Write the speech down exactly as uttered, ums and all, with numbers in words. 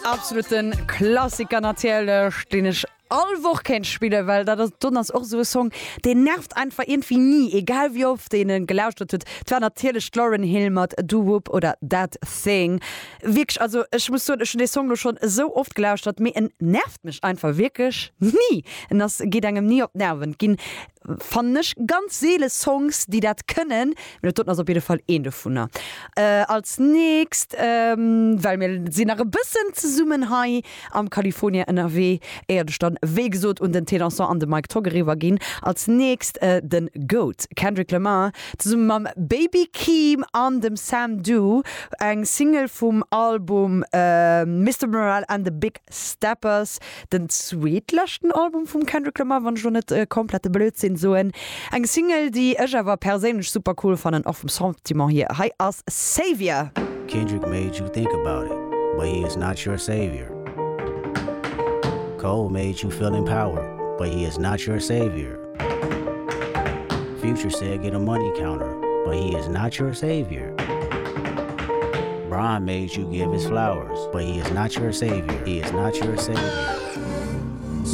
Absoluten Klassiker natierlech, deen ech all Woch kéint spillen, well dat ass dann ass och sou e Song, deen nervt einfach iergendwéi ni, egal wéi oft een en gelauschtert huet. Et war natierlech d'Lauryn Hill mat Doo Wop oder That Thing. Wierklech, also ech muss soen, ech hunn dee Song lo schonn esou oft gelauschtert, mee en nervt mech einfach wierklech ni. En ass, geet engem ni op d'Nerven. Et ginn, fannen ech, ganz seele Songs, déi dat kënnen, mee dat doten ass op jidde Fall een dovunner. Als nächst, well mir sinn nach e bëssen zesummen hei am California ënnerwee, éiert ech dann wéi gesot un den T-Dansant an de Mike Togg eriwwer ginn, als nächst den Goat Kendrick Lamar zesumme mam Baby Keem an dem Sam Dew, eng Single vum Album Mister Morale and the Big Steppers, den zweetleschten Album vum Kendrick Lamar, wann ech lo net komplette Blödsinn soen. Eng Single, déi ech awer perséinlech super cool fannen, och vum Sentiment hier. Hei ass Savior. Kendrick made you think about it, but he is not your savior. Cole made you feel empowered, but he is not your savior. Future said get a money counter, but he is not your savior. Bron made you give his flowers, but he is not your savior. He is not your savior.